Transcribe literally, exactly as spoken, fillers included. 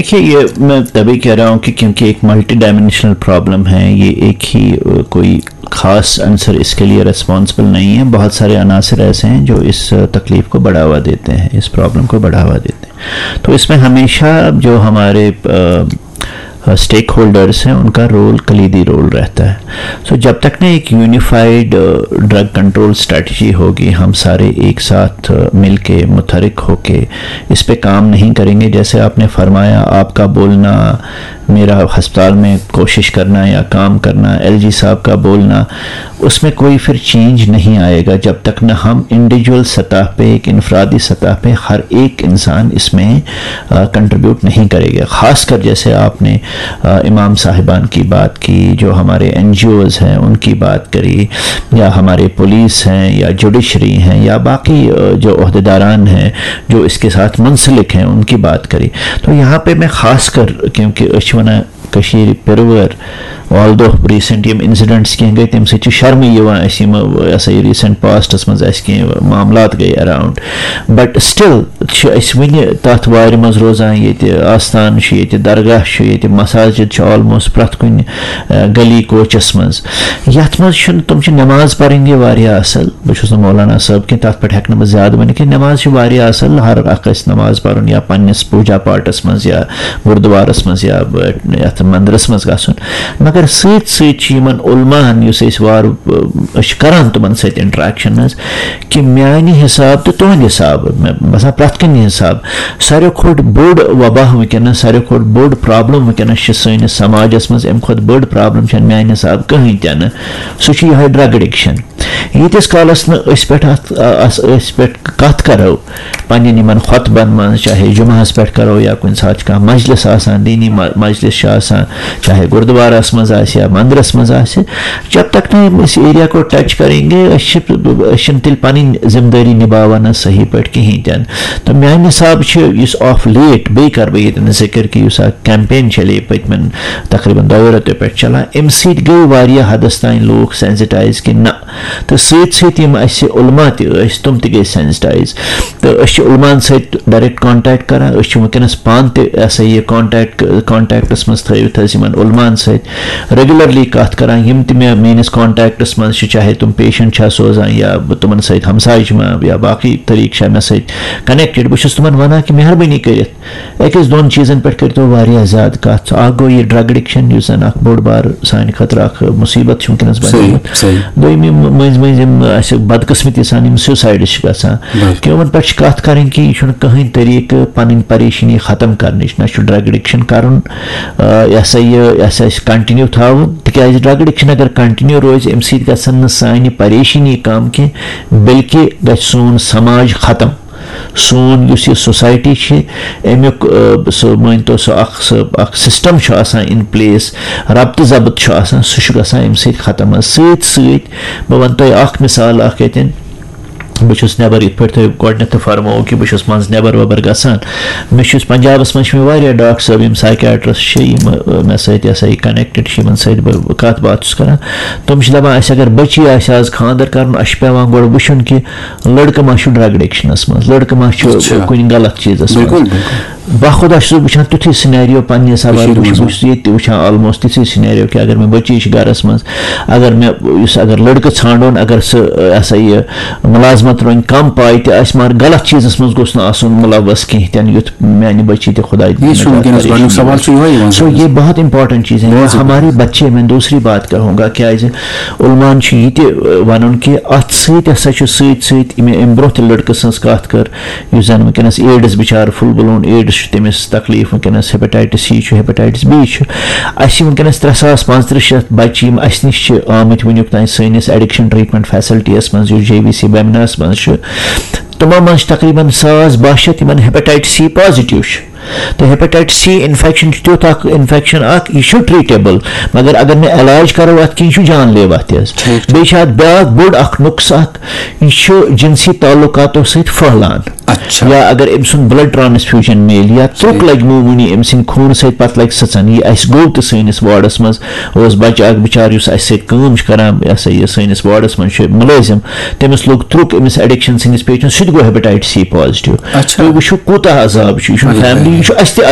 دیکھیے، یہ میں تبھی کہہ رہا ہوں کہ کیونکہ ایک ملٹی ڈائمینشنل پرابلم ہے، یہ ایک ہی کوئی خاص عنصر اس کے لیے ریسپانسبل نہیں ہے۔ بہت سارے عناصر ایسے ہیں جو اس تکلیف کو بڑھاوا دیتے ہیں، اس پرابلم کو بڑھاوا دیتے ہیں۔ تو اس میں ہمیشہ جو ہمارے اسٹیک ہولڈرس ہیں، ان کا رول، کلیدی رول رہتا ہے۔ سو جب تک نا ایک یونیفائیڈ ڈرگ کنٹرول اسٹریٹجی ہوگی، ہم سارے ایک ساتھ مل کے، متحرک ہو کے اس پہ کام نہیں کریں گے، جیسے آپ نے فرمایا، آپ کا بولنا، میرا ہسپتال میں کوشش کرنا یا کام کرنا، ایل جی صاحب کا بولنا، اس میں کوئی پھر چینج نہیں آئے گا جب تک نہ ہم انڈیویجول سطح پہ، ایک انفرادی سطح پہ ہر ایک انسان اس میں کنٹریبیوٹ نہیں کرے گا۔ خاص کر جیسے آپ نے امام صاحبان کی بات کی، جو ہمارے این جی اوز ہیں ان کی بات کری، یا ہمارے پولیس ہیں یا جوڈیشری ہیں یا باقی جو عہدیداران ہیں جو اس کے ساتھ منسلک ہیں ان کی بات کری، تو یہاں پہ میں خاص کر، کیونکہ أسۍ چھِ وَنان کٔشیٖرِ پِروٲر، آل دو ریٖسنٹ یِم انسیڈنٹس کینٛہہ گٔے، تَمہِ سۭتۍ چھِ شرمٕے یِوان اَسہِ یِم، یہِ ہسا یہِ ریٖسنٹ پاسٹس منٛز اَسہِ کینٛہہ معاملات گٔے اراؤنڈ، بٹ سٹل چھِ أسۍ وٕنہِ تَتھ وارِ منٛز روزان، ییٚتہِ آستان چھُ، ییٚتہِ درگاہ چھُ، ییٚتہِ مساجد چھِ آلموسٹ پرٛٮ۪تھ کُنہِ گلی کوچس منٛز۔ یَتھ منٛز چھُنہٕ، تِم چھِ نماز پرٕنۍ یہِ واریاہ اصل، بہٕ چھُس نہٕ مولانا صٲب کینٛہہ، تَتھ پٮ۪ٹھ ہٮ۪کہٕ نہٕ بہٕ زیادٕ ؤنِتھ کینٛہہ۔ نماز چھِ واریاہ اصل، ہر اکھ گژھِ نماز پرُن یا پننِس پوٗجا پاٹس منٛز یا گُردوارَس منٛز یا، ب-، یَتھ مندرَس منٛز گژھُن۔ مگر سۭتۍ سۭتۍ چھِ یِمَن علماہَن، یُس أسۍ وارٕ، ب-، أسۍ چھِ کَران تِمَن سۭتۍ انٹریکشن حظ، کہِ میٛانہِ حساب تہٕ تُہٕنٛدِ حساب، مےٚ باسان پرٛٮ۪تھ کُنہِ حساب، ساروی کھۄتہٕ بوٚڑ وبا وٕنکیٚنَس، ساروی کھۄتہٕ بوٚڑ پرابلم وٕنکیٚنَس چھِ سٲنِس سماجَس منٛز، اَمہِ کھۄتہٕ بٔڑ پرابلم چھَنہٕ میٛانہِ حساب کٕہٕنۍ تہِ نہٕ۔ سُہ چھُ یِہوٚے ڈرگ ایڈکشن۔ ییٖتِس کالَس نہٕ أسۍ پٮ۪ٹھ اَتھ، اَس-، أسۍ پٮ۪ٹھ کَتھ کَرو، پننٮ۪ن یِمن خطبن منٛز، چاہے جمعہس پٮ۪ٹھ کرو یا کُنہِ ساتہٕ چھُ کانٛہہ مجلس آسان، دینی م-، مجلس چھُ آسان، چاہے گردوارس منٛز آسہِ یا مندرس منٛز آسہِ، جب تک نہٕ أسۍ ایریا کو ٹچ کریں گے، أسۍ چھِ، أسۍ چھِنہٕ تیٚلہِ پنٕنۍ ذمہٕ دٲری نباوان حظ صحیح پٲٹھۍ کِہیٖنۍ تہِ نہٕ۔ تہٕ میانہِ حسابہٕ چھُ یُس آف لیٹ، بیٚیہِ کرٕ بہٕ ییٚتٮ۪ن ذِکر کہِ یُس اکھ کیمپین چلے پٔتمٮ۪ن تقریباً دۄیو رٮ۪تو پٮ۪ٹھ چلان، اَمہِ سۭتۍ گٔے واریاہ حدس تام لوٗکھ سینسٹایز کہِ نہ، تہٕ سۭتۍ سۭتۍ یِم اَسہِ علماء تہِ ٲسۍ، تِم تہِ گٔے سینسٹایز۔ تہٕ أسۍ چھِ علماءن سۭتۍ ڈائریکٹ کانٹیکٹ کران، أسۍ چھِ وٕنکیٚنَس پانہٕ تہِ، یہِ ہسا یہِ، کانٹیکٹ، کانٹیکٹَس منٛز تھٲوِتھ حظ یِمَن علماءن سۭتۍ ریگولرلی کَتھ کران، یِم تہِ مےٚ، میٛٲنِس کانٹیکٹَس منٛز چھِ، چاہے تِم پیشنٹ چھا سوزان یا بہٕ تِمَن سۭتۍ ہمسایہِ چھِ ما یا باقٕے طریٖقہٕ چھا مےٚ سۭتۍ کنیکٹڈ، بہٕ چھُس تِمَن وَنان کہِ مہربٲنی کٔرِتھ أکِس دۄن چیٖزن پٮ۪ٹھ کٔرۍتو واریاہ زیادٕ کَتھ۔ اَکھ گوٚو یہِ ڈرگ ایڈکشن، یُس زَن اَکھ بوٚڑ بار سانہِ خٲطرٕ اَکھ مُصیٖبت چھِ وٕنکیٚنَس صحیح، بَنیومُت۔ صحیح۔ دوٚیِم، یِم مٔنٛزۍ مٔنٛزۍ یِم اَسہِ بدقٕسمتی سان یِم سیوسایڈٕز چھِ گژھان، بِلکُل۔ کہِ یِمَن پٮ۪ٹھ چھِ کَتھ کَرٕنۍ کہِ یہِ چھُنہٕ کٕہٕنۍ طریٖقہٕ پَنٕنۍ پریشٲنی ختم کَرنٕچ، نہ چھُ ڈرگ ایڈکشن کَرُن، آ، یہِ ہسا یہِ، یہِ ہسا اَسہِ کنٹِنیو تھاوُن، تِکیٛازِ ڈرگ ایڈکشن اگر کنٹِنیو روزِ، اَمہِ سۭتۍ گژھن نہٕ سانہِ پریشٲنی کَم کینٛہہ، بلکہِ گژھِ سون سماج ختم۔ سون یُس یہِ سوسایٹی چھِ، اَمیُک، آ، سُہ مٲنۍ تو سُہ اَکھ، سُہ اَکھ سِسٹَم چھُ آسان اِن پلیس، ربطہٕ ضبط چھُ آسان، سُہ چھُ گژھان اَمہِ سۭتۍ ختم حظ۔ سۭتۍ سۭتۍ بہٕ وَنہٕ تۄہہِ اَکھ مِثال اَکھ ییٚتٮ۪ن، بہٕ چھُس نٮ۪بَر، یِتھ پٲٹھۍ تۄہہِ گۄڈٕنٮ۪تھ تہِ فرمووُ کہِ بہٕ چھُس منٛزٕ نٮ۪بَر وٮ۪بَر گژھان۔ مےٚ چھُ یُس پنجابَس منٛز چھِ مےٚ واریاہ ڈاکٹر صٲب، یِم سایکیٹرسٹ چھِ، یِم، آ، مےٚ سۭتۍ یہِ ہسا یہِ کنیکٹڈ چھِ، یِمَن سۭتۍ بہٕ کَتھ باتھ چھُس کَران۔ تِم چھِ دَپان، اَسہِ اگر بٔچی آسہِ آز خانٛدر کَرُن، اَسہِ چھُ پٮ۪وان گۄڈٕ وٕچھُن کہِ لڑکہٕ ما چھُ ڈرگ ایڈکشنس منٛز، لڑکہٕ ما چھُ اچھا۔ کُنہِ غلط چیٖزس منٛز۔ بِلکُل، بِلکُل۔ باخدا چھُس بہٕ وٕچھان تیُتھُے سینیریو پننہِ حسابہٕ، کٔشیٖرِ بہٕ چھُس، منٛز۔ بہٕ چھُس ییٚتہِ تہِ وٕچھان آلموسٹ تِژھٕے سینیریو کہِ اگر مےٚ بٔچی چھِ گرس منٛز، اگر مےٚ یُس، اگر لڑکہٕ ژھانڈون، اگر سُہ، یہِ ہسا یہِ، مُلازمت رۄنہِ کم پاے تہِ آسہِ، مگر غلط چیٖزس منٛز گوٚژھ نہٕ آسُن مُلوث کینٛہہ تہِ نہٕ، یُتھ میانہِ بٔچی تہِ خۄداے یہِ چھُ نجات وٕنکیٚنَس کَرِ۔ گۄڈٕنیُک سوال چھُ یِہوٚے یِوان سو سمجھ۔ یہ بہت امپورٹنٹ چیز ہے، بہت یہ ہمارے بچے، میں دوسری بات کہوں گا، کیازِ علماءن چھُ یہِ تہِ، ٲ، وَنُن کہِ اَتھ سۭتۍ ہسا چھُ سۭتۍ سۭتۍ یِم امہِ برونٛہہ تہِ لڑکہٕ سٕنٛز کَتھ کٔر، یُس زَن وٕنکیٚنَس ایڈز بِچارٕ فُل بٕلون ایڈز چھُ، تٔمِس تکلیٖف وٕنکیٚنَس، ہیپیٹائٹس سی چھُ، ہیپیٹائٹس بی چھُ۔ اَسہِ چھِ وٕنکیٚنَس ترٛےٚ ساس پانٛژترٕٛہ شیٚتھ بَچہِ یِم اَسہِ نِش چھِ آمٕتۍ وٕنیُک تام سٲنِس ایڈکشن ٹریٹمنٹ فیسلٹیَس منٛز، یُس جے وی سی بیمناہَس منٛز چھُ۔ تِمو منٛز چھِ تقریباً ساس باہ شیٚتھ یِمَن ہیپیٹائٹس سی پازیٹیو چھُ۔ تہٕ ہیپیٹائٹس سی انفیکشن چھُ تیُتھ اکھ انفیکشن اکھ، یہِ چھُ ٹریٹیبل، مگر اگر نہٕ علاج کرو اتھ کینٛہہ، یہِ چھُ جان لیوا تہِ حظ۔ ٹھیٖک۔ بیٚیہِ چھُ اتھ بیٛاکھ بوٚڑ اکھ نُقصہٕ اکھ، یہِ چھُ جنسی تعلقاتو سۭتۍ پھٔہلان۔ اچھا۔ یا اگر أمۍ سُنٛد بلڈ ٹرانسفیوجن میلہِ یا ترُک صحیح۔ لگہِ معموٗلی أمۍ سٕنٛدِ خوٗنہٕ سۭتۍ، پتہٕ لگہِ سٕژن۔ یہِ اَسہِ گوٚو تہِ سٲنِس وارڈس منٛز، اوس بچہٕ اکھ بِچارٕ یُس اَسہِ سۭتۍ کٲم چھِ کران، یہِ ہسا یہِ سٲنِس وارڈس منٛز چھُ مُلٲزِم، تٔمِس لوٚگ ترُک أمِس ایڈکشن سٕنٛدِس پیشنٹس، سُہ تہِ گوٚو ہیپیٹائٹس سی پازیٹیو۔ اچھا۔ تُہۍ وٕچھِو کوٗتاہ عذاب چھُ، یہِ چھُنہٕ اچھا۔ فیملی، یہِ چھُ اَسہِ تہِ